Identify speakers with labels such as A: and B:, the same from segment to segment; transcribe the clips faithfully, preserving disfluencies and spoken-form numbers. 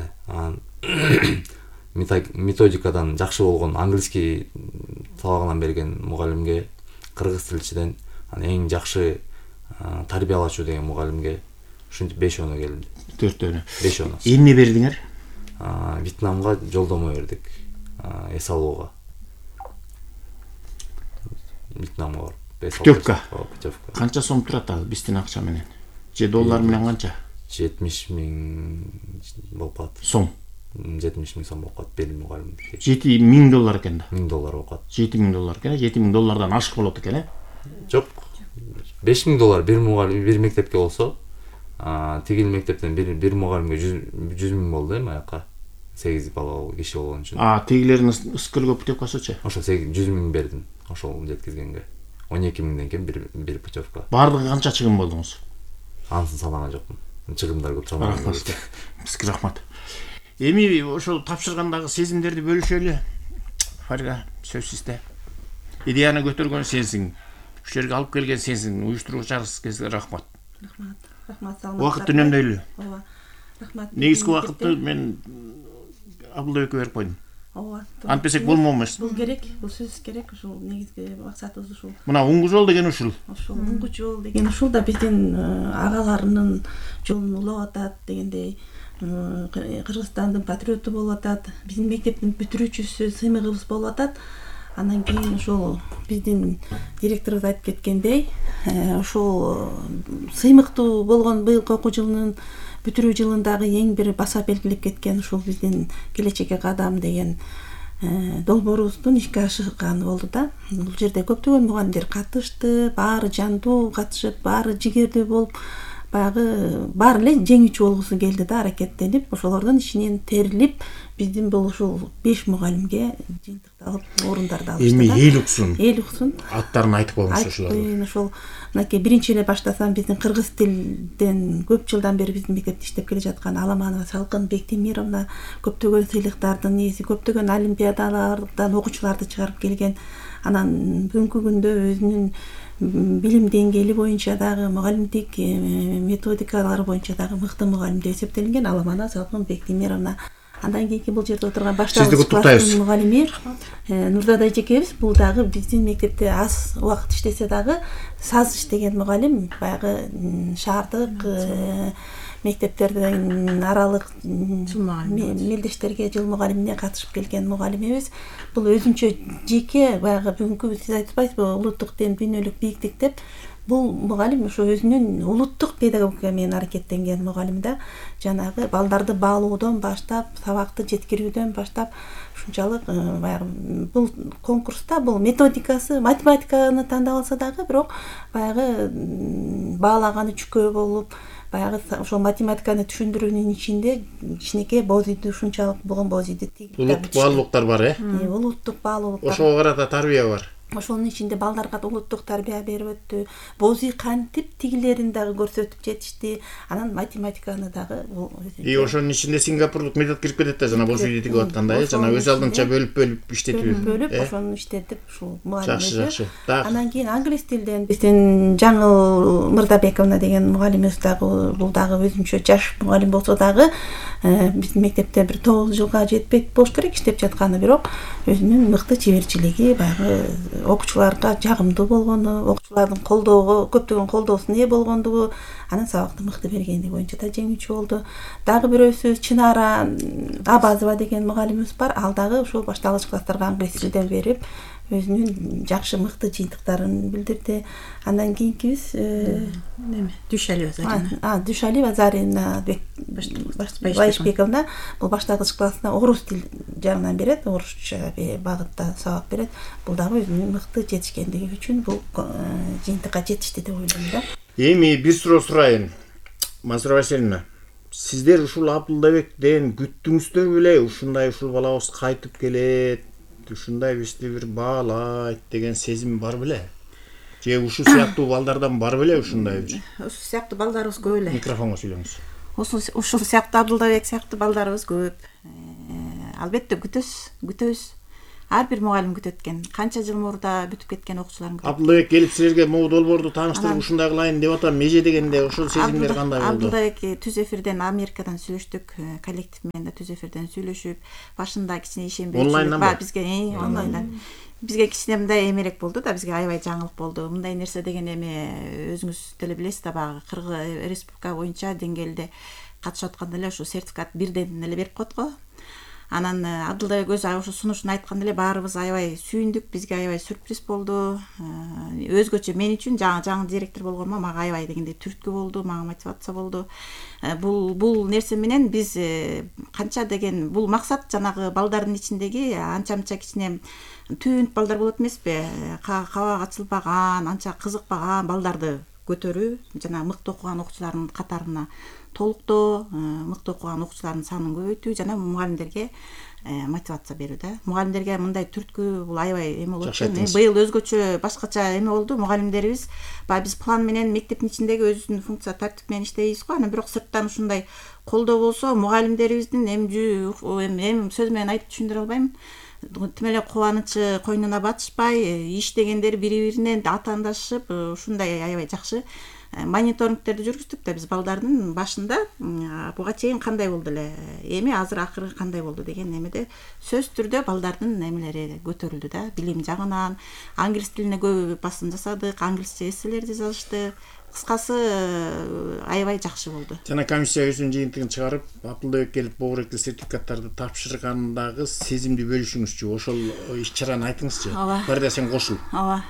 A: эле. Анан методикадан жакшы болгон английский сабагынан берген мугалимге, кыргыз тилчиден анан эң жакшы тарбиялачуу деген мугалимге ушинтип беш оноо келди.
B: Төртөөнө.
A: беш оноо.
B: Эмне бердиңер?
A: Вьетнамга жолдомо бердик. Эс алууга. Вьетнамга барып.
B: Путевка. Канча сом турат ал биздин акча менен? Же доллар менен канча?
A: жетимиш миң болуп калат.
B: Сом.
A: жетимиш миң сом болуп калат бир мугалим.
B: жети миң доллар экен да.
A: миң доллар болуп калат.
B: жети миң доллар экен, жети миң доллардан ашык болот экен, э?
A: Жок. беш миң доллар бир мугалим, бир мектепке болсо, тигил мектептен бир бир мугалимге жүз миң болду эми аяка. сегиз бала киши болгон үчүн.
B: А, тигилердин ыскыргы путевкасычы?
A: Ошо жүз миң бердим. Ошол жеткизгенге. он эки миңден кем бир бир путевка.
B: Бардыгы канча чыгым болдуңуз?
A: Ансын санаган жокмун. Чыгымдар көп чамалуу.
B: Рахмат. Бизге рахмат. Эми ошол тапшыргандагы сезимдерди бөлүшөлү. Фарга, сөз сизде. Идеяны көтөргөн сенсиң. Ушул жерге алып келген сенсиң. Уюштуруучуңарга кезге рахмат.
C: Рахмат. Рахмат саламат.
B: Убакытты үнөмдөйлү.
C: Ооба. Рахмат.
B: Негизги убакытты мен Абылбекке берип койдум.
C: Ооба.
B: Антпесек болмомуш.
C: Бул керек, бул сөз керек, ушул негизги максатыбыз ушул.
B: Мына уңгу жол деген ушул.
C: Ушул уңгу жол деген ушул да биздин агаларынын жолун улап атат дегендей. Кыргызстандын патриоту болуп атат, биздин мектептин бүтүрүүчүсү, сыймыгыбыз болуп атат. Андан кийин ошол биздин директорубуз айтып кеткендей, ошол сыймыктуу болгон быйылкы окуу жылынын бүтүрүү жылындагы эң бир баса белгилеп кеткен ушул биздин келечекке кадам деген долбоорубуздун ишке ашырганы болду да. Бул жерде көптөгөн мугалимдер катышты, баары жандуу катышып, баары жигердүү болуп, баягы баары эле жеңүүчү болгусу келди да, аракеттенип, ошолордун ичинен терилип, биздин бул ушул беш мугалимге жыйынтыкты алып, орундарды алышты да.
B: Эми эл уксун.
C: Эл уксун.
B: Аттарын айтып коюңуз ошолорду.
C: Айтпайын, ошол мынакей биринчи эле баштасам, биздин кыргыз тилден көп жылдан бери биздин мектепте иштеп келе жаткан Аламанова Салкын Бектемировна көптөгөн сыйлыктардын ээси, көптөгөн олимпиадалардан окуучуларды чыгарып келген. Анан бүгүнкү күндө өзүнүн билим деңгээли боюнча дагы, мугалимдик методикалары боюнча дагы мыкты мугалим деп эсептелинген Аламанова Салкын Бектемировна. Андан кийинки бул жерде отурган башталгыч класстын мугалими Нурзада эжекебиз, бул дагы биздин мектепте аз убакыт иштесе дагы саз иштеген мугалим, баягы шаардык мектептерден аралык мелдештерге жыл мугалимине катышып келген мугалимибиз. Бул өзүнчө жеке баягы бүгүнкү сиз айтпайсызбы, улуттук ден дүйнөлүк бийиктик деп, бул мугалим ошо өзүнүн улуттук педагогика менен аракеттенген мугалим да. Жанагы балдарды баалоодон баштап, сабакты жеткирүүдөн баштап, ушунчалык баягы бул конкурста бул методикасы, математиканы тандап алса дагы, бирок баягы баалаганы чүкөө болуп, баягы ошол математиканы түшүндүрүүнүн ичинде кичинекей боз үйдү, ушунчалык болгон боз үйдү тигип.
B: Улуттук баалуулуктар бар, э?
C: Улуттук баалуулуктар.
B: Ошого карата тарбия бар.
C: Ошонун ичинде балдарга улуттук тарбия берип өттү. Боз үй кантип тигилерин дагы көрсөтүп жетишти. Анан математиканы дагы.
B: И ошонун ичинде сингапурлук метод кирип кетет да, жана боз үйдү тигип атканда, э, жана өз алдынча бөлүп-бөлүп иштетүү.
C: Бөлүп, ошону иштетип, ушул мугалим.
B: Жакшы, жакшы.
C: Андан кийин англис тилден биздин Жаңыл Мырдабековна деген мугалимибиз дагы, бул дагы өзүнчө жаш мугалим болсо дагы, биздин мектепте бир тогуз жылга жетпек болуш керек иштеп жатканы, бирок өзүнүн мыкты чеберчилиги, баягы окуучуларга жагымдуу болгону, окуучулардын колдоого, көптөгөн колдоосуна ээ болгондугу, анын сабакты мыкты бергендиги боюнча да жеңүүчү болду. Дагы бирөөсү Чынара Абазова деген мугалимибиз бар. Ал дагы ушул башталгыч класстарга англис тилден берип, өзүнүн жакшы мыкты жыйынтыктарын билдирди. Андан кийинкибиз
D: эме Дүйшалиева Зарина.
C: А, Дүйшалиева Зарина Байшбековна бул башталгыч классына орус тил жагынан берет, орусча багытта сабак берет. Бул дагы өзүнүн мыкты жетишкендиги үчүн бул жыйынтыкка жетишти деп ойлойм да.
B: Эми бир суроо сурайын. Мансура Васильевна, сиздер ушул Абылбектен күттүңүздөр беле, ушундай ушул балабыз кайтып келет, ушундай бизди бир баалайт деген сезим бар беле? Же ушул сыяктуу балдардан бар беле ушундай бир?
C: Ушул сыяктуу балдарыбыз көп эле.
B: Микрофонго сүйлөңүз.
C: Ушул сыяктуу Абылбек сыяктуу балдарыбыз көп. Албетте күтөбүз, күтөбүз.
D: ар бир мугалим күтөт экен. Канча жыл мурда бүтүп кеткен окуучуларын күтөт.
B: Абдылбек келип силерге могу долбоорду тааныштырып ушундай кылайын деп атам, меже дегенде ошол сезимдер кандай болду?
D: Абдылбек түз эфирден Америкадан сүйлөштүк, коллектив менен да түз эфирден сүйлөшүп, башында кичине ишенбейчүлүк бар бизге, онлайндан. Бизге кичине мындай эмерек болду да, бизге аябай жаңылык болду. Мындай нерсе деген эме өзүңүз деле билесиз да, баягы Кыргыз республика боюнча деңгээлде катышып атканда эле ошо сертификат бирден эле берип коет го. Анан Абдылбек өзү ошо сунушун айтканда эле баарыбыз аябай сүйүндүк, бизге аябай сюрприз болду. Өзгөчө мен үчүн жаңы жаңы директор болгоныма мага аябай дегенде түрткү болду, мага мотивация болду. Бул бул нерсе менен биз канча деген бул максат жанагы балдардын ичиндеги анча-мынча кичине түнт балдар болот эмеспи? Кабак ачылбаган, анча кызыкпаган балдарды көтөрүү, жана мыкты окуган окуучулардын катарына толуктоо, мыкты окуган окуучулардын санын көбөйтүү жана мугалимдерге мотивация берүү да. Мугалимдерге мындай түрткү бул аябай эме болот. Быйыл өзгөчө башкача эме болду. Мугалимдерибиз баягы биз план менен мектептин ичиндеги өзүнүн функция тартип менен иштейбиз го. Анан бирок сырттан ушундай колдоо болсо мугалимдерибиздин эми эми сөз менен айтып түшүндүрө албайм. Тим эле кубанычы койнуна батышпай, иштегендер бири-биринен атаандашып, ушундай аябай жакшы мониторингтерди жүргүздүк да биз балдардын башында буга чейин кандай болду эле, эми азыр акыры кандай болду деген эмеде сөзсүз түрдө балдардын эмелери көтөрүлдү да, билим жагынан. Англис тилине көп басым жасадык, англисче эсселерди жазыштык. Кыскасы аябай жакшы болду.
B: Жана комиссия өзүнүн жыйынтыгын чыгарып, Абдылбек келип богуректи сертификаттарды тапшыргандагы сезимди бөлүшүңүзчү, ошол иш-чараны айтыңызчы. Барда сен кошул.
D: Ооба,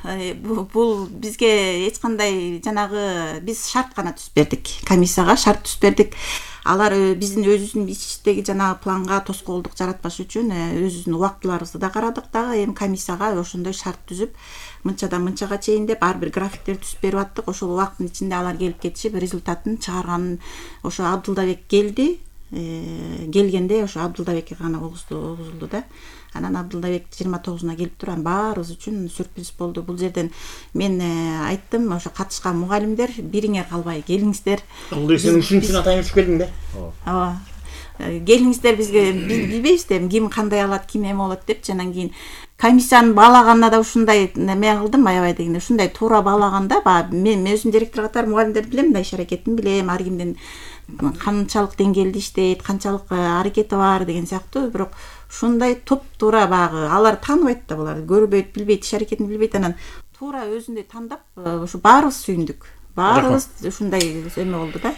D: бул бизге эч кандай жанагы биз шарт гана түзүп бердик. Комиссияга шарт түзүп бердик. Алар биздин өзүбүздүн ичтеги жанагы планга тоскоолдук жаратпаш үчүн өзүбүздүн убактыларыбызды да карадык дагы, эми комиссияга ошондой шарт түзүп, мынчадан мынчага чейин деп ар бир графиктер түзүп берип аттык. Ошол убакыттын ичинде алар келип кетишип, результатын чыгарганын ошо Абдылбек келди. Келгенде ошо Абдылбекке гана огузулду да. Анан Абдылбек жыйырма тогузуна келип турган баарыбыз үчүн сюрприз болду. Бул жерден мен айттым, ошо катышкан мугалимдер бириңер калбай келиңиздер.
B: Абдылбек сен үчүнчү атайын түшүп келдиң да?
D: Ооба. Келиңиздер, бизге билбейбиз да ким кандай алат, ким эме болот депчи. Анан кийин комиссияны баалаганда да ушундай эме кылдым, аябай дегенде ушундай туура баалаганда, баягы мен өзүм директор катары мугалимдерди билем да, иш аракетин билем, ар кимдин канчалык деңгээлде иштейт, канчалык аракети бар деген сыяктуу. Бирок ушундай топ-туура баягы алар тааныбайт да, булар көрбөйт, билбейт, иш аракетин билбейт. Анан туура өзүндөй тандап, ушу баарыбыз сүйүндүк. Баарыбыз ушундай эме болду да.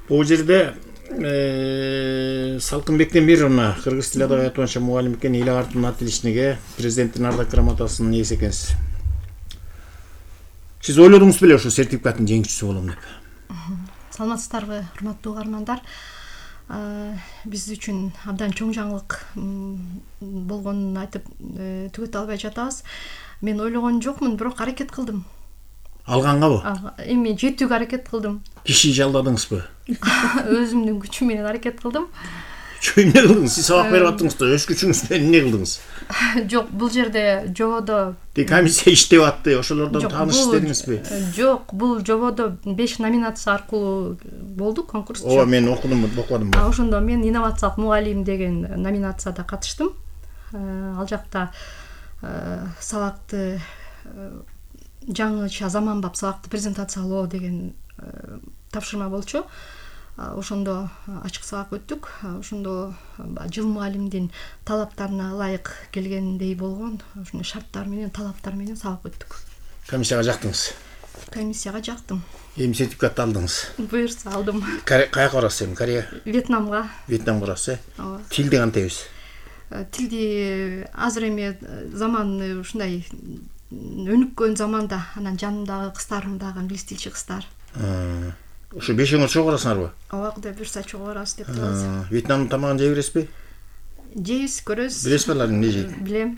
B: Бул жерде Салкынбектен бир мына кыргыз тили адабияты боюнча мугалим экен, эл агартууну атилишиниге президенттин ардак грамотасынын ээси экенсиз. Сиз ойлодуңуз беле ошо сертификаттын жеңүүчүсү болом деп?
E: Саламатсыздарбы, урматтуу угармандар. Биз үчүн абдан чоң жаңылык болгонун айтып түгөтө албай жатабыз. Мен ойлогон жокмун, бирок аракет кылдым.
B: Алгангабы?
E: Эми жетүүгө аракет кылдым.
B: Киши жалдадыңызбы?
E: Өзүмдүн күчүм менен аракет кылдым.
B: Чөй эмне кылдыңыз? Сиз сабак берип аттыңыз да, өз күчүңүз менен эмне кылдыңыз?
E: Жок, бул жерде жободо
B: комиссия иштеп атты, ошолордон тааныш истедиңизби?
E: Жок, бул жободо беш номинация аркылуу болду конкурс.
B: Ооба, мен окудум, окудум.
E: Ошондо мен инновациялык мугалим деген номинацияда катыштым. Ал жакта сабакты жаңыча заманбап сабакты презентациялоо деген тапшырма болчу. Ошондо ачык сабак өттүк. Ошондо жыл мугалимдин талаптарына ылайык келгендей болгон ошондой шарттар менен, талаптар менен сабак өттүк.
B: Комиссияга жактыңыз?
E: Комиссияга жактым.
B: Эми сертификатты алдыңыз?
E: Буюрса алдым.
B: Каяка барасыз эми? Корея?
E: Вьетнамга.
B: Вьетнамга барасыз, э?
E: Ооба.
B: Тилди кантайбыз?
E: Тилди азыр эми заман ушундай өнүккөн заманда, анан жанымдагы кыздарым дагы англис тилчи кыздар.
B: Ошо бешөөңөр чогуу барасыңарбы?
E: Ооба, Кудай буйрса чогуу барабыз деп турабыз.
B: Вьетнамдын тамагын жей бересизби?
E: Жейбиз, көрөбүз.
B: Билесизби алар эмне жейт?
E: Билем.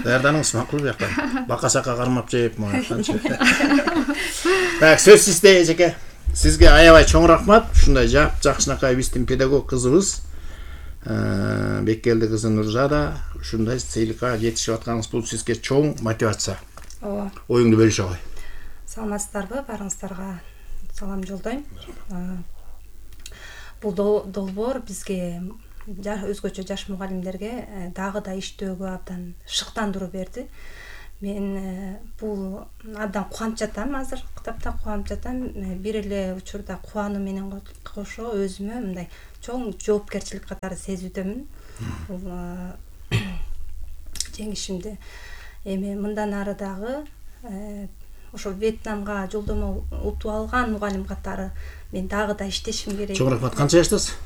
B: Даярданыңыз макул бияктан. Бака-сака кармап жеп, мактанчы. Так, сөз сизде, эжеке. Сизге аябай чоң рахмат. Ушундай жап жакшынакай биздин педагог кызыбыз Беккелди кызы Нурзада ушундай сыйлыкка жетишип атканыңыз бул сизге чоң мотивация.
F: Ооба.
B: Оюңду бөлүшө кой.
F: Саламатсыздарбы? Баарыңыздарга салам жолдойм. Бул долбоор бизге өзгөчө жаш мугалимдерге дагы да иштөөгө абдан шыктандыруу берди. Мен бул абдан кубанып жатам, азыр китапта кубанып жатам. Бир эле учурда кубануу менен кошо өзүмө мындай чоң жоопкерчилик катары сезүүдөмүн. Бул жеңишимди. Эми мындан ары дагы ошо Вьетнамга жолдомо утуп алган мугалим катары мен дагы да иштешим керек.
B: Чоң рахмат. Канча жаштасыз?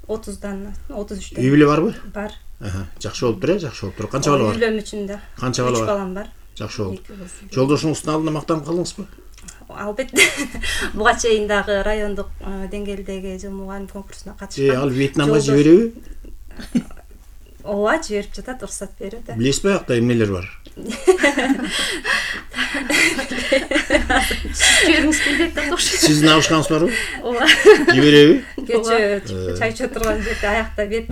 F: отуздан, отуз үчтөн.
B: Үй бүлө барбы?
F: Бар.
B: Аха, жакшы болуп тур, жакшы болуп тур. Канча бала бар?
F: Үйлөнүү үчүн да.
B: Канча бала бар?
F: үч балам бар.
B: Жакшы болду. Жолдошуңуздун алдында мактанып калдыңызбы?
F: Албетте. Буга чейин дагы райондук деңгээлдеги жыл мугалим конкурсуна катышкан.
B: Э, ал Вьетнамга жибереби?
F: Ооба, жиберип жатат, уруксат берет.
B: Билесизби, аякта эмнелер бар?
E: Жибергиңиз келбейт да окшойт.
B: Сиздин абышкаңыз барбы?
F: Ооба.
B: Жибереби?
F: Кечээ чай ичип турган жерде аякта бет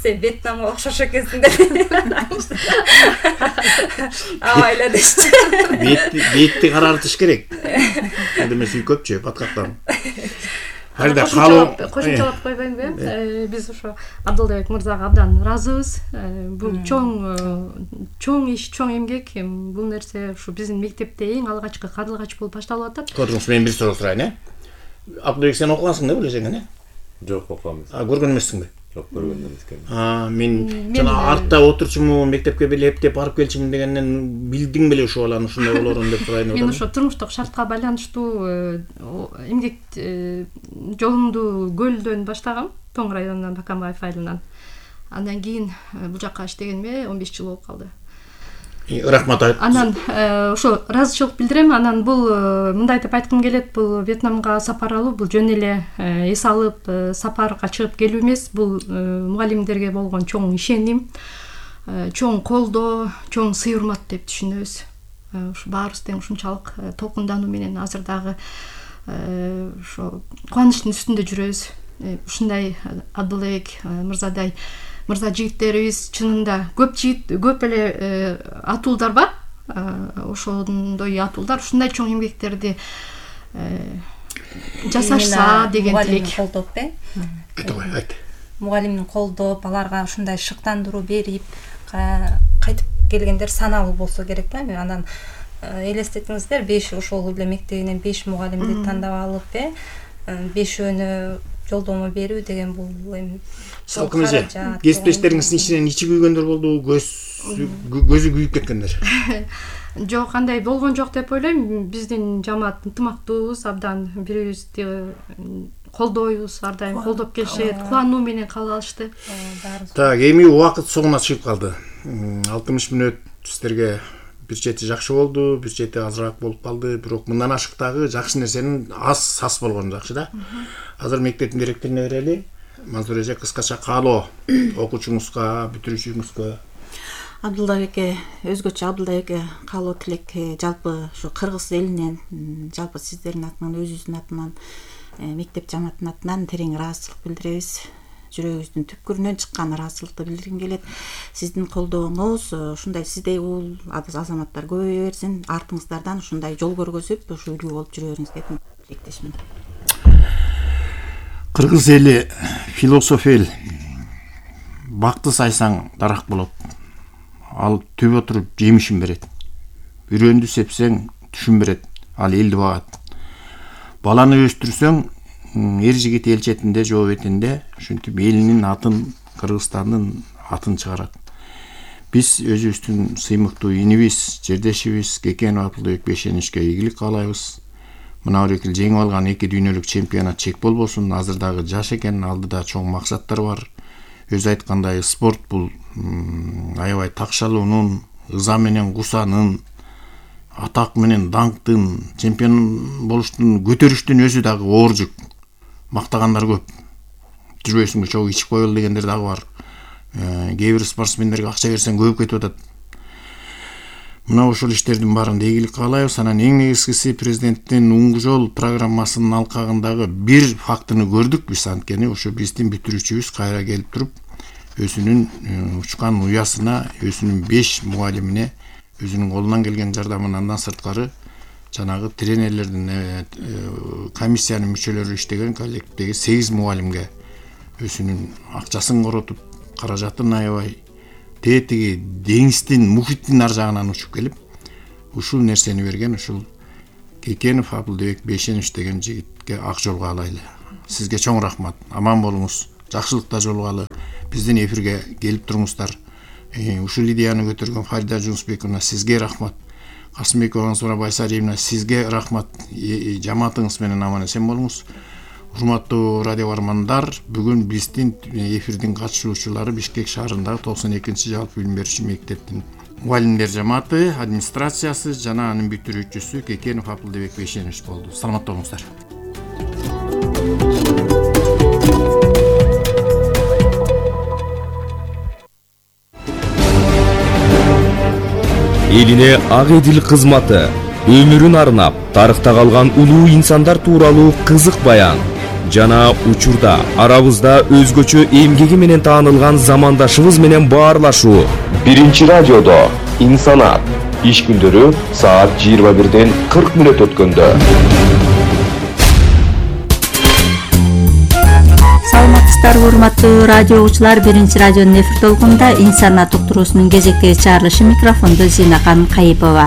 F: сен Вьетнамга окшош экенсиң деп. Аба эле дешти.
B: Бетти, бетти карартыш керек. Анда эмес үй көпчү, баткактан. Хайда калуу
E: кошумчалап койбоймунбу? Биз ошо Абдылбек мырзага абдан ыраазыбыз. Бул чоң чоң иш, чоң эмгек. Бул нерсе ушу биздин мектепте эң алгачкы кадылгач болуп башталып атат.
B: Көрдүңүз, мен бир суроо сурайын, э? Абдылбек, сен окугансың да, билесең, э?
G: Жок, окугам эмес.
B: А, көргөн эмессиңби?
G: Жок, көргөн эмес экен.
B: А, мен жана артта отурчумун, мектепке беле эптеп барып келчимин дегенден билдиң беле ушул баланы ушундай болорун деп сурайын деп
E: Мен
B: атам.
E: ошо турмуштук шартка байланыштуу эмгек жолумду Көлдөн баштагам, Тоң районунан, Бакамбаев айылынан. Андан кийин бул жакка иштегениме он беш жыл болуп калды.
B: Рахмат айт.
E: Анан ошо ыраазычылык билдирем. Анан бул мындай деп айткым келет, бул Вьетнамга сапар алуу бул жөн эле эс алып сапарга чыгып келүү эмес. Бул мугалимдерге болгон чоң ишеним, чоң колдоо, чоң сый урмат деп түшүнөбүз. Ушу баарыбыз тең ушунчалык толкундануу менен азыр дагы ошо кубанычтын үстүндө жүрөбүз. Ушундай Абдылбек мырзадай мырза жигиттерибиз чынында көп жигит, көп эле атуулдар бар. Ошондой атуулдар ушундай чоң эмгектерди жасашса деген тилек.
F: Мугалимдин колдоп, э?
B: Айт.
F: Мугалимдин колдоп, аларга ушундай шыктандыруу берип, кайтып келгендер саналуу болсо керек да. Анан элестетиңиздер, беш ошол эле мектебинен беш мугалимди тандап алып, э, бешөөнү жолдомо берүү деген бул эми
B: салкын эже, кесиптештериңиздин ичинен ичи күйгөндөр болду, көз көзү күйүп кеткендер.
E: Жок, андай болгон жок деп ойлойм. Биздин жамаат ынтымактуубуз, абдан бири-бирибизди колдойбуз, ар дайым колдоп келишет, кубануу менен кабыл алышты.
B: Так, эми убакыт соңуна чыгып калды. алтымыш мүнөт сиздерге бир чети жакшы болду, бир чети азыраак болуп калды, бирок мындан ашыктагы жакшы нерсенин аз сас болгону жакшы да. Азыр мектептин директоруна берели. Мансур эже, кыскача каалоо окуучуңузга, бүтүрүүчүңүзгө.
D: Абдылбекке, өзгөчө Абдылбекке каалоо тилек, жалпы ушу кыргыз элинен, жалпы сиздердин атынан, өзүбүздүн атынан, мектеп жамааттын атынан терең ыраазычылык билдиребиз. Жүрөгүбүздүн түпкүрүнөн чыккан ыраазычылыкты билдиргим келет. Сиздин колдооңуз ушундай сиздей ул азаматтар көбөйө берсин, артыңыздардан ушундай жол көргөзүп, ушу үлгү болуп жүрө бериңизге тилектешмин.
B: Кыргыз эли философ эл. Бакты сайсаң дарак болот. Ал төбө туруп жемишин берет. Үрөндү сепсең түшүн берет. Ал элди багат. Баланы өстүрсөң эр жигит эл четинде, жоо бетинде, ушинтип элинин атын, Кыргызстандын атын чыгарат. Биз өзүбүздүн сыймыктуу инибиз, жердешибиз Кекенов Абдылбек Бешеничке ийгилик каалайбыз. Мына бир эки жеңип алган эки дүйнөлүк чемпионат чек болбосун, азыр дагы жаш экен, алдыда чоң максаттар бар. Өзү айткандай, спорт бул аябай такшалуунун, ыза менен кусанын, атак менен даңктын, чемпион болуштун, көтөрүштүн өзү дагы оор жүк. Мактагандар көп. Жүрбөйсүңбү, чогуу ичип коелу дегендер дагы бар. Кээ бир спортсмендерге акча берсең көбүп кетип атат. Мына ушул иштердин баарында ийгилик каалайбыз. Анан эң негизгиси президенттин Уң жол программасынын алкагындагы бир фактыны көрдүк биз, анткени ушу биздин бүтүрүүчүбүз кайра келип туруп өзүнүн учкан уясына, өзүнүн беш мугалимине өзүнүн колунан келген жардамын, андан сырткары жанагы тренерлердин комиссиянын мүчөлөрү иштеген коллективдеги сегиз мугалимге өзүнүн акчасын коротуп, каражатын аябай тетиги деңиздин, мухиттин ар жагынан учуп келип, ушул нерсени берген ушул Кекенов Абылдыбек Бейшенович деген жигитке ак жолго алайлы. Сизге чоң рахмат. Аман болуңуз. Жакшылыкта жолугалы. Биздин эфирге келип туруңуздар. Ушул идеяны көтөргөн Фарида Жунусбековна, сизге рахмат. Касымбекова Аңсура Байсариевна, сизге рахмат. Жамаатыңыз менен аман эсен болуңуз. Урматтуу радио бармандар, бүгүн биздин эфирдин катышуучулары Бишкек шаарындагы токсон экинчи жалпы билим берүүчү мектептин мугалимдер жамааты, администрациясы жана анын бүтүрүүчүсү Кекенов Абылдыбек Бейшенович болду. Саламатта болуңуздар.
H: Элине ак эдил кызматы, өмүрүн арнап, тарыхта калган улуу инсандар тууралуу кызык баян жана учурда арабызда өзгөчө эмгеги менен таанылган замандашыбыз менен баарлашуу. Биринчи радиодо инсанат иш күндөрү саат жыйырма бирден кырк мүнөт өткөндө.
I: Саламатсыздарбы урматтуу радио угуучулар, биринчи радионун эфир толкунунда инсанат уктуруусунун кезектеги чыгарылышы, микрофондо Зинакан Кайыпова.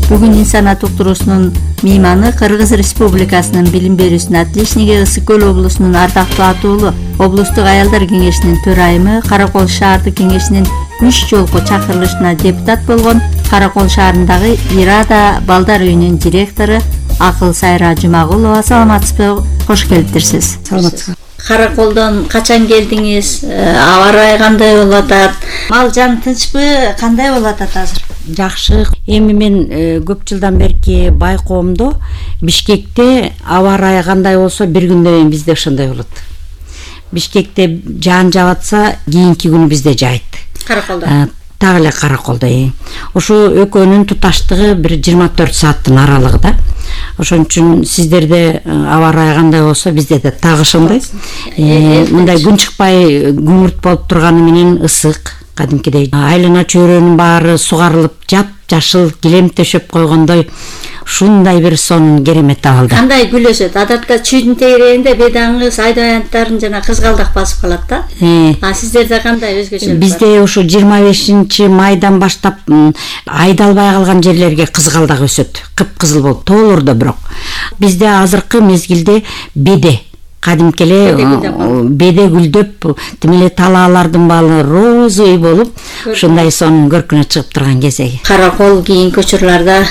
I: Бүгүн инсанат уктуруусунун мейманы Кыргыз Республикасынын билим берүүсүнүн отличниги, Ысык Көл облусунун ардактуу атуулу облустук аялдар кеңешинин төрайымы, Каракол шаардык кеңешинин үч жолку чакырылышына депутат болгон Каракол шаарындагы Ирада балдар үйүнүн директору Акыл Сайра Жумагулова. Саламатсызбы? Кош келиптирсиз.
C: Саламатсызбы?
I: Караколдон качан келдиңиз? Аба ырайы кандай болуп атат? Мал жан тынчпы? Кандай болуп атат азыр?
J: Жакшы. Эми мен көп жылдан берки байкоомдо Бишкекте аба ырайы кандай болсо бир күндөн кийин бизде ошондой болот. Бишкекте жаан жаатса кийинки күнү бизде жайт.
I: Караколдо.
J: Так эле Караколдо. Ошо экөөнүн туташтыгы бир жыйырма төрт сааттын аралыгы да. Ошон үчүн сиздерде аба ырайы кандай болсо бизде да так ошондой. Мындай күн чыкпай күңүрт болуп турганы менен ысык, кадимкидей айлана чөйрөнүн баары сугарылып, жап жашыл килем төшөп койгондой ушундай бир сонун керемет абалда.
I: Кандай гүл өсөт? Адатта чүйдүн тегерегинде бедаңыз, айдаянттарын жана кызгалдак басып калат да. А сиздерде кандай өзгөчөлүк бар?
J: Бизде ошо жыйырма бешинчи майдан баштап айдалбай калган жерлерге кызгалдак өсөт. Кыпкызыл болуп, тоолордо бирок. Бизде азыркы мезгилде беде кадимки эле беде гүлдөп, тимеле талаалардын баары розовый болуп, ушундай сонун көркүнө чыгып турган кезеги.
I: Каракол кийинки учурларда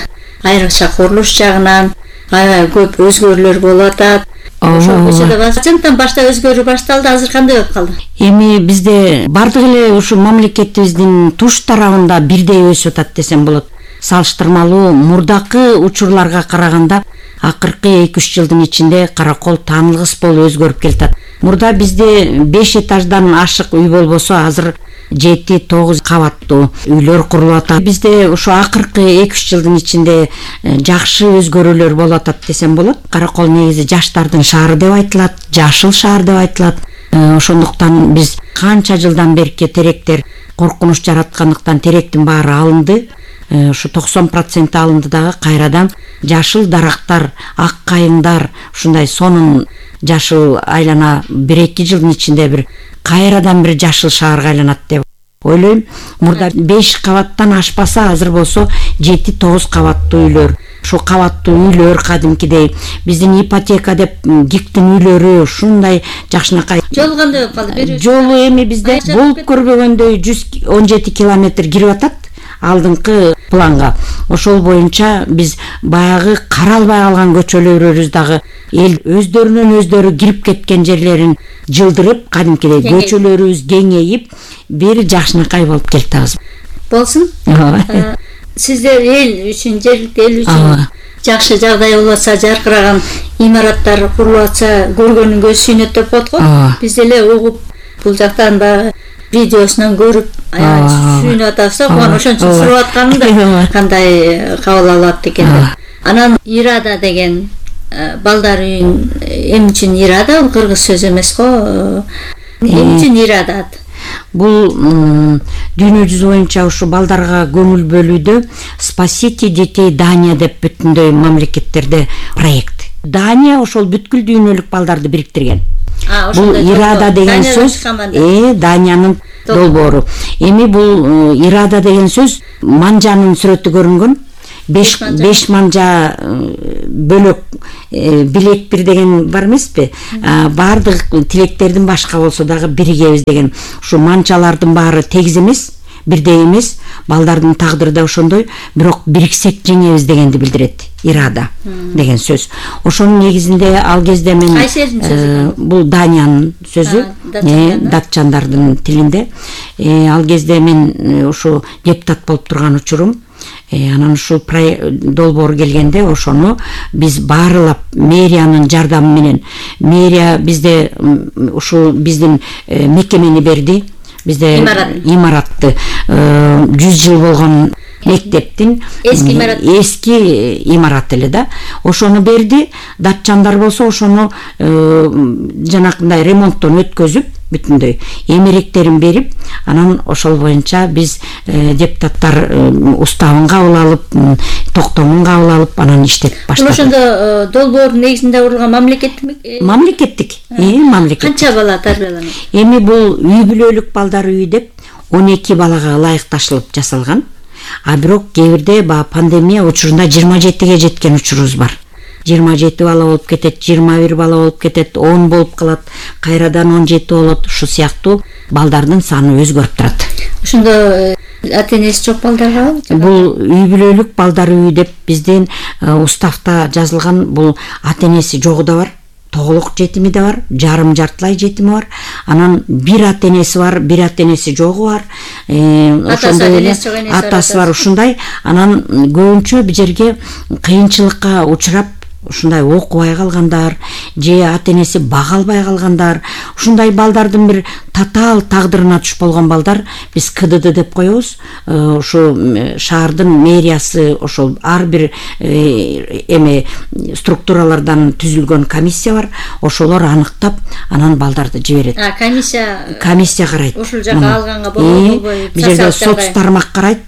I: айрыкча курулуш жагынан аябай көп өзгөрүүлөр болуп атат. Ошо көчөдө башкачтан башта өзгөрүү башталды, азыр кандай болуп калды?
J: Эми бизде бардык эле ушу мамлекетибиздин туш тарабында бирдей өсүп атат десем болот. Салыштырмалуу мурдакы учурларга караганда акыркы эки үч жылдын ичинде Каракол таанылгыс болуп өзгөрүп келатат. Мурда бизде беш этаждан ашык үй болбосо, азыр жети тогуз кабаттуу үйлөр курулуп атат. Бизде ошо акыркы эки үч жылдын ичинде жакшы өзгөрүүлөр болуп атат десем болот. Каракол негизи жаштардын шаары деп айтылат, жашыл шаар деп айтылат. Ошондуктан биз канча жылдан берки теректер коркунуч жараткандыктан теректин баары алынды. Ушу токсон процент алынды дагы кайрадан жашыл дарактар, ак кайыңдар, ушундай сонун жашыл айлана бир эки жылдын ичинде бир кайрадан бир жашыл шаарга айланат деп ойлойм. Мурда беш кабаттан ашпаса, азыр болсо жети тогуз кабаттуу үйлөр. Ушу кабаттуу үйлөр кадимкидей биздин ипотека деп гиктин үйлөрү ушундай жакшынакай.
I: Жол кандай болуп калды?
J: Жолу эми бизде болуп көрбөгөндөй жүз он жети километр кирип атат алдыңкы планга. Ошол боюнча биз баягы каралбай калган көчөлөрүбүз дагы эл өздөрүнөн өздөрү кирип кеткен жерлерин жылдырып, кадимкидей көчөлөрүбүз кеңейип, бир жакшынакай болуп келатабыз.
I: Болсун. Сиздер эл үчүн, жергиликтүү эл үчүн жакшы жагдай болуп атса, жаркыраган имараттар курулуп атса, көргөнүн көз сүйнөт деп коет го. Биз эле угуп, бул жактан баягы видеосунан көрүп аябай сүйүнүп атабыз да, куан ошон үчүн сурап атканымда кандай кабыл алат экен деп. Анан Ирада деген балдар үйүн эмне үчүн Ирада? Бул кыргыз сөзү эмес го. Эмне үчүн Ирада?
J: Бул дүйнө жүзү боюнча ушу балдарга көңүл бөлүүдө Спасите детей Дания деп бүтүндөй мамлекеттерде проект. Дания ошол бүткүл дүйнөлүк балдарды бириктирген. бул ирада деген сөз э Даниянын долбоору. Эми бул ирада деген сөз манжанын сүрөтү көрүнгөн. беш беш манжа бөлөк билек бир деген бар эмеспи? Баардык тилектердин башка болсо дагы биригебиз деген. Ушу манчалардын баары тегиз эмес, бирдей эмес, балдардын тагдыры да ошондой, бирок бириксек жеңебиз дегенди билдирет ирада деген сөз. Ошонун негизинде ал кезде мен бул Даниянын сөзү, датчандардын тилинде. Ал кезде мен ушу депутат болуп турган учурум, анан ушул долбоор келгенде ошону биз баарылап мэриянын жардамы менен, мэрия бизде ушул биздин мекемени берди, бизде имаратты жүз жыл болгон мектептин эски имарат эски имарат эле да, ошону берди. Датчандар болсо ошону жанакындай ремонттон өткөзүп бүтүндөй эмеректерин берип, анан ошол боюнча биз депутаттар уставын кабыл алып, токтомун кабыл алып, анан иштеп баштадык.
I: Ошондо долбоордун негизинде курулган мамлекеттик
J: мамлекеттик э мамлекет.
I: Канча бала тарбияланат?
J: Эми бул үй бүлөлүк балдар үйү деп он эки балага ылайыкташылып жасалган. А бирок кээ бирде баягы пандемия учурунда жыйырма жетиге жеткен учурубуз бар. жыйырма жети бала болуп кетет, жыйырма бир бала болуп кетет, он болуп калат, кайрадан он жети болот. Ушул сыяктуу балдардын саны өзгөрүп турат.
I: Ошондо ата-энеси жок балдарга
J: бул үй бүлөлүк балдар үйү деп биздин уставта жазылган. Бул ата-энеси жогу да бар, тоголок жетими да бар, жарым жартылай жетими бар, анан бир ата-энеси бар, бир ата-энеси жогу бар, ошондой эле атасы бар, ушундай. Анан көбүнчө бул жерге кыйынчылыкка учурап, ушундай окубай калгандар же ата-энеси бага албай калгандар, ушундай балдардын бир татаал тагдырына туш болгон балдар биз КДД деп коебуз. Ушу шаардын мэриясы ошол ар бир эме структуралардан түзүлгөн комиссия бар, ошолор аныктап, анан балдарды жиберет.
I: А комиссия
J: комиссия карайт.
I: Ушул жака алганга болобу, болбойбу?
J: Бул жерде соц тармак карайт.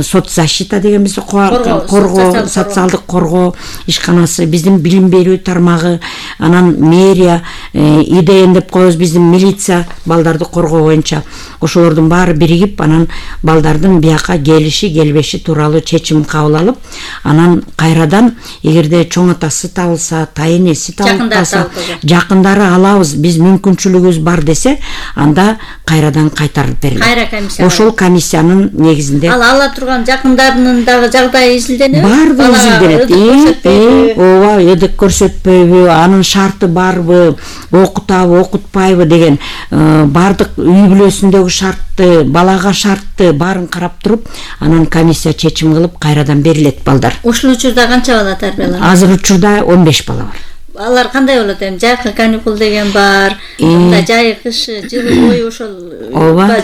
J: Соцзащита деген биз коргоо, социалдык коргоо ишканасы, биздин билим берүү тармагы, анан мэрия, ИДН деп коебуз, биздин милиция балдарды коргоо боюнча. Ошолордун баары биригип, анан балдардын бияка келиши, келбеши тууралуу чечим кабыл алып, анан кайрадан эгерде чоң атасы табылса, тайенеси табылса, жакындары алабыз, биз мүмкүнчүлүгүбүз бар десе, анда кайрадан кайтарып берилет.
I: Кайра комиссия.
J: Ошол комиссиянын негизинде
I: ал ала турган жакындарынын дагы жагдайы изилденеби?
J: Баардыгы изилденет. Ооба, эдик көрсөтпөйбү, анын шарты барбы, окутабы, окутпайбы деген баардык үй бүлөсүндөгү шартты, балага шартты баарын карап туруп, анан комиссия чечим кылып кайрадан берилет балдар.
I: Ушул учурда канча бала тарбияланат?
J: Азыр учурда он беш бала бар.
I: Алар кандай болот эми? Жайкы каникул деген бар, жай кыш жылы бою ошол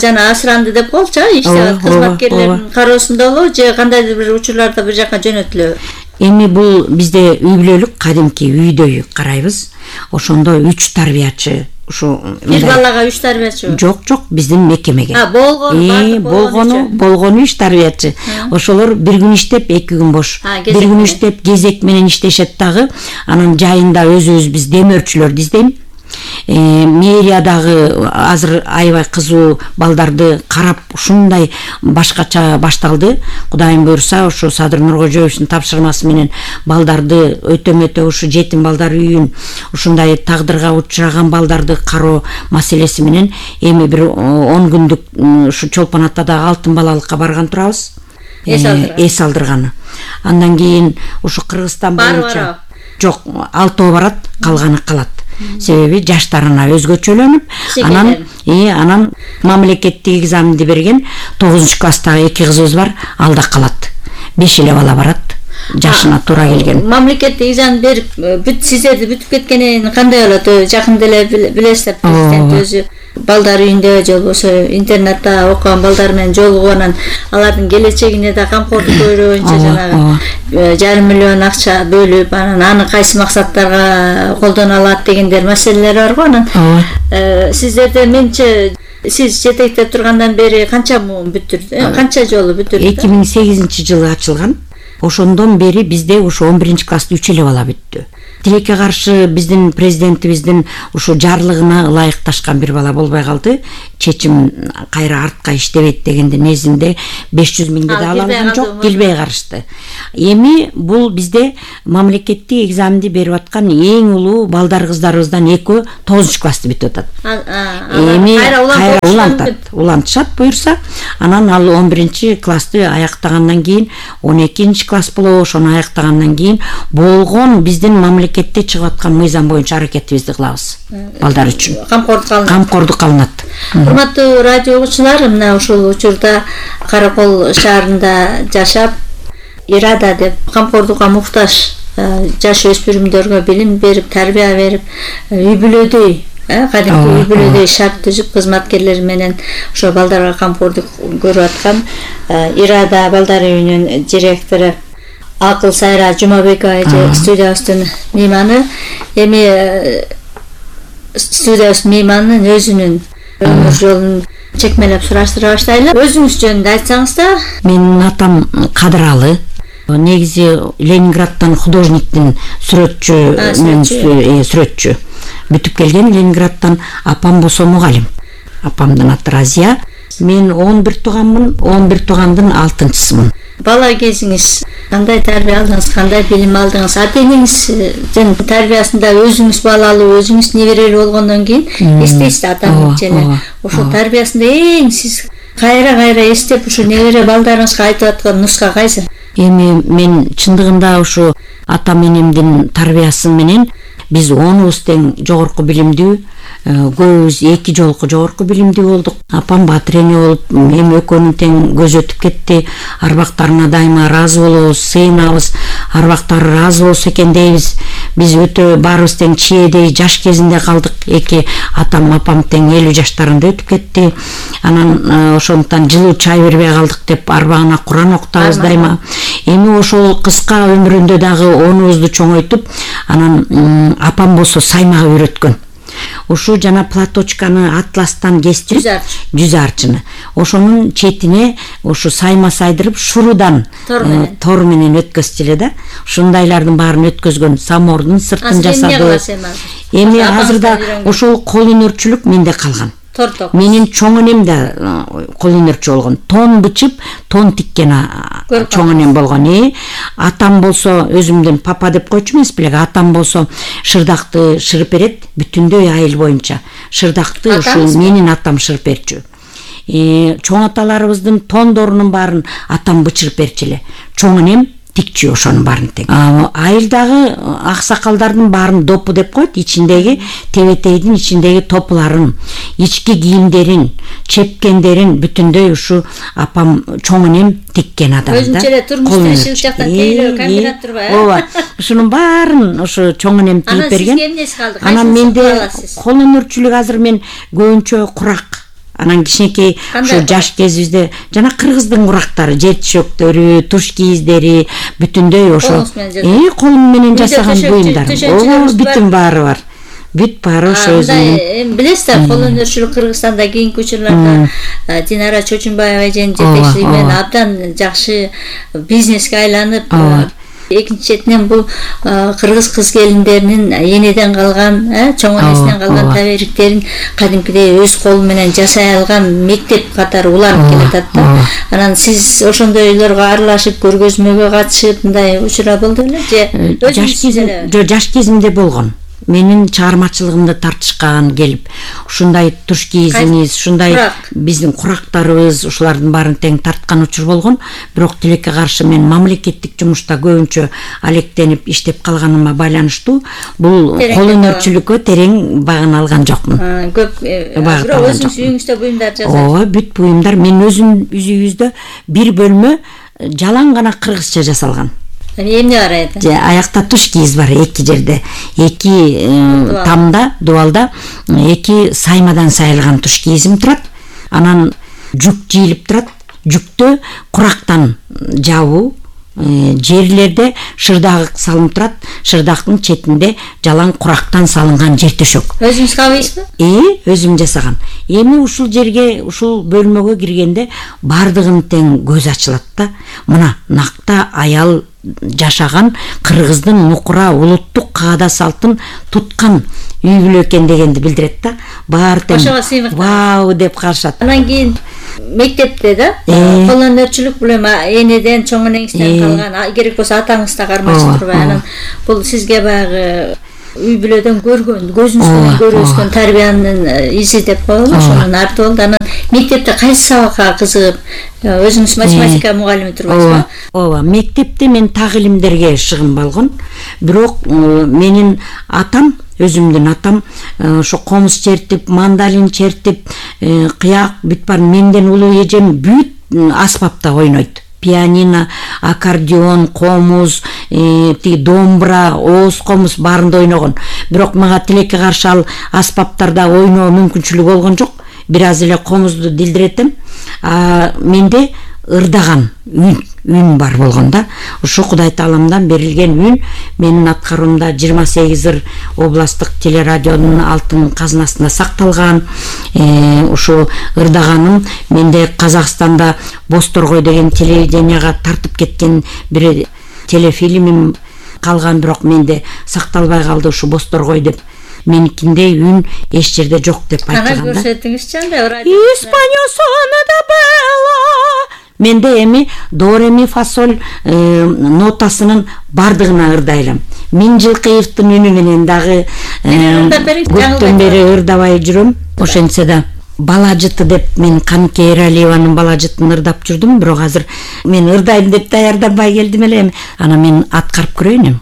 I: жана асыранды деп коелучу, иштеп кызматкерлердин кароосунда болобу же кандайдыр бир учурларда бир жака жөнөтүлөбү?
J: Эми бул бизде үй бүлөлүк кадимки үйдөй карайбыз. Ошондо үч тарбиячы, ушу
I: бир балага үч тарбиячы?
J: Жок, жок, биздин мекемеге.
I: А, болгону,
J: болгону, болгону үч тарбиячы. Ошолор бир күн иштеп, эки күн бош. Бир күн иштеп, кезек менен иштешет дагы. Анан жайында өзүбүз биз демөөрчүлөрдү издейм. Мэрия дагы азыр аябай кызуу балдарды карап ушундай башкача башталды. Кудайым буйрса, ошо Садыр Нуркожоевичтин тапшырмасы менен балдарды өтө-мөтө ушу жетим балдар үйүн, ушундай тагдырга учураган балдарды кароо маселеси менен эми бир он күндүк ушу Чолпон Атадагы алтын балалыкка барган турабыз. Эс алдырганы. Андан кийин ушу Кыргызстан боюнча жок, алтоо барат, калганы калат. Себеби жаштарына өзгөчөлөнүп, анан и анан мамлекеттик экзаменди берген тогузунчу класстагы эки кызыбыз бар, алда калат. беш эле бала барат, жашына туура келген.
I: Мамлекеттик экзамен берип, бүт сиздерди бүтүп кеткенин кандай болот? Жакында эле билесиздер, президент өзү балдар үйүндө же болбосо интернатта окуган балдар менен жолугуп, анан алардын келечегине да камкордук көрүү боюнча жанагы жарым миллион акча бөлүп, анан аны кайсы максаттарга колдоно алат дегендер маселелер бар го. Анан сиздерде менче сиз жетектеп тургандан бери канча муун бүтүрдү? Канча жолу бүтүрдү?
J: эки миң сегизинчи жылы ачылган. Ошондон бери бизде ушу он биринчи класста үч эле бала бүттү. тилекке каршы биздин президентибиздин ушу жарлыгына ылайыкташкан бир бала болбой калды. Чечим кайра артка иштебейт дегенде незинде беш жүз миңди да ала алган жок, келбей карышты. Эми бул бизде мамлекеттик экзаменди берип аткан эң улуу балдар кыздарыбыздан экөө тогузунчу классты бүтүп атат. Эми кайра улантат, улантышат буюрса, анан ал он биринчи классты аяктагандан кийин он экинчи класс болобу, ошону аяктагандан кийин болгон биздин мамлекетте чыгып аткан мыйзам боюнча аракетибизди кылабыз. Балдар үчүн
I: камкордук кылынат.
J: Камкордук кылынат.
I: Урматтуу радио угуучулар, мына ушул учурда Каракол шаарында жашап, Ирада деп камкордукка муктаж жаш өспүрүмдөргө билим берип, тарбия берип, үй бүлөдөй, кадимки үй бүлөдөй шарт түзүп кызматкерлери менен ошо балдарга камкордук көрүп аткан Ирада балдар үйүнүн директору Акыл Сайра Жумабекова эже студиябыздын мейманы. Эми студиябыз мейманынын өзүнүн өмүр жолун чекмелеп сураштыра баштайлы. Өзүңүз жөнүндө айтсаңыз да.
J: Менин атам Кадыралы. Негизи Ленинградтан художниктин сүрөтчү, сүрөтчү. Бүтүп келген Ленинградтан. Апам болсо мугалим. Апамдын аты Разия. Мен он бир тууганмын, он бир туугандын алтынчысымын.
I: Бала кезиңиз кандай тарбия алдыңыз, кандай билим алдыңыз? Ата энеңиздин тарбиясында өзүңүз балалуу, өзүңүз неберелүү болгондон кийин эстейсиз атаңыз жана ошол тарбиясында эң сиз кайра-кайра эстеп ушу небере балдарыңызга айтып аткан нуска кайсы?
J: Эми мен чындыгында ушу атам энемдин тарбиясы менен биз онубуз тең жогорку билимдүү, көбүбүз эки жолку жогорку билимдүү болдук. Апам батыр эне болуп, эми экөөнүн тең көзү өтүп кетти. Арбактарына дайыма ыраазы болобуз, сыйынабыз. Арбактары ыраазы болсо экен дейбиз. Биз өтө баарыбыз тең чиедей жаш кезинде калдык. Эки атам, апам тең элүү жаштарында өтүп кетти. Анан ошондуктан жылуу чай бербей калдык деп арбагына Куран окутабыз дайыма. Эми ошол кыска өмүрүндө дагы онубузду чоңойтуп, анан апам болсо саймага үйрөткөн. Ушу жана платочканы атластан кестирип, жүз арчыны. Ошонун четине ушу сайма сайдырып, шурудан тор менен өткөзчү эле да. Ушундайлардын баарын өткөзгөн, самордун сыртын жасады. Эми азырда ошол кол өнөрчүлүк менде калган. Менин чоң энем да кол өнөрчү болгон. Тон бычып, тон тиккен чоң энем болгон. Э, атам болсо өзүмдүн папа деп койчу эмес беле, атам болсо шырдакты шырып берет бүтүндөй айыл боюнча. Шырдакты ушу менин атам шырып берчү. Э, чоң аталарыбыздын тондорунун баарын атам бычырып берчү эле. Чоң энем тикчү ошонун баарын тең. Айылдагы аксакалдардын баарын допу деп коет, ичиндеги тебетейдин ичиндеги топуларын, ички кийимдерин, чепкендерин бүтүндөй ушу апам чоң энем тиккен адам да.
I: Өзүнчө эле турмушта иши жактан тейлөө комбинат турбайбы?
J: Ооба. Ушунун баарын ушу чоң энем тигип берген.
I: Анан сизге эмнеси калды?
J: Анан менде кол өнөрчүлүк азыр мен көбүнчө курак. Анан кичинекей ушу жаш кезибизде жана кыргыздын курактары, жер тишөктөрү, туш кийиздери бүтүндөй ошо э колум менен жасаган буюмдар. Ооба, бүтүн баары бар. Бүт баары ошо өзүнүн.
I: Билесиз да, кол өнөрчүлүк Кыргызстанда кийинки учурларда Динара Чочунбаева эженин жетекчилиги менен абдан жакшы бизнеске айланып, экинчи четинен бул кыргыз кыз келиндеринин энеден калган, чоң энесинен калган табериктерин кадимкидей өз колу менен жасай алган мектеп катары уланып келатат да. Анан сиз ошондойлорго аралашып, көргөзмөгө катышып, мындай учура болду беле же
J: жаш кезимде? Жок, жаш кезимде болгон. Менин чыгармачылыгымды тартышкан келип, ушундай туш кийизиңиз, ушундай биздин курактарыбыз, ушулардын баарын тең тарткан учур болгон. Бирок тилекке каршы мен мамлекеттик жумушта көбүнчө алектенип иштеп калганыма байланыштуу бул кол өнөрчүлүккө терең багын алган жокмун.
I: Көп бирок өзүңүз үйүңүздө буюмдар жасайсыз.
J: Ооба, бүт буюмдар. Мен өзүм үйүбүздө бир бөлмө жалаң гана кыргызча жасалган.
I: Эмне бар эти?
J: Же аякта туш кийиз бар эки жерде. Эки тамда, дубалда эки саймадан сайылган туш кийизим турат. Анан жүк жийилип турат. Жүктө курактан жабуу, жерлерде шырдак салынып турат. Шырдактын четинде жалаң курактан салынган жер төшөк.
I: Өзүңүз кабыйсызбы?
J: Э, өзүм жасагам. Эми ушул жерге, ушул бөлмөгө киргенде бардыгын тең көз ачылат да. Мына накта аял жашаган кыргыздын нукура улуттук каада салтын туткан үй бүлө экен дегенди билдирет да. Баары тең вау деп карашат.
I: Анан кийин мектепте да кол өнөрчүлүк билем энеден чоң энеңизден калган, керек болсо атаңыз да кармашып турбай, анан бул сизге баягы үй бүлөдөн көргөн, көзүңүз менен көрүп өскөн тарбиянын изи деп коелу, ошонун арты болду. Анан мектепте кайсы сабакка кызыгып, өзүңүз математика мугалими турбайсызбы?
J: Ооба, мектепте мен так илимдерге шыгынбалгын. Бирок менин атам, өзүмдүн атам ошо комуз чертип, мандалин чертип, кыяк бүт бар, менден улуу эжем бүт аспапта ойнойт. Пианино, аккордеон, комуз, тиги домбура, ооз комуз баарында ойногон. Бирок мага тилекке каршы ал аспаптарда ойноо мүмкүнчүлүгү болгон жок. Бир аз эле комузду дилдиретем. А менде ырдаган үн, үн бар болгон да. Ошо Кудай Тааламдан берилген үн менин аткаруумда жыйырма сегиз ыр областтык телерадионун алтын казынасында сакталган. Ошо ырдаганым менде Казакстанда Босторгой деген телевиденияга тартып кеткен бир телефильмим калган, бирок менде сакталбай калды ушу Босторгой деп. Меникиндей үн эч жерде жок деп айтканда.
I: Ана көрсөтүңүзчү анда радио.
J: Испаньо соно да белла. Менде эми до ре ми фа соль нотасынын бардыгына ырдайлам. Мин Жылкыевдин үнү менен дагы көптөн бери ырдабай жүрөм. Ошентсе да бала жыты деп мен Канке Эралиеванын бала жытын ырдап жүрдүм, бирок азыр мен ырдайм деп даярданбай келдим эле. Ана мен аткарып көрөйүн.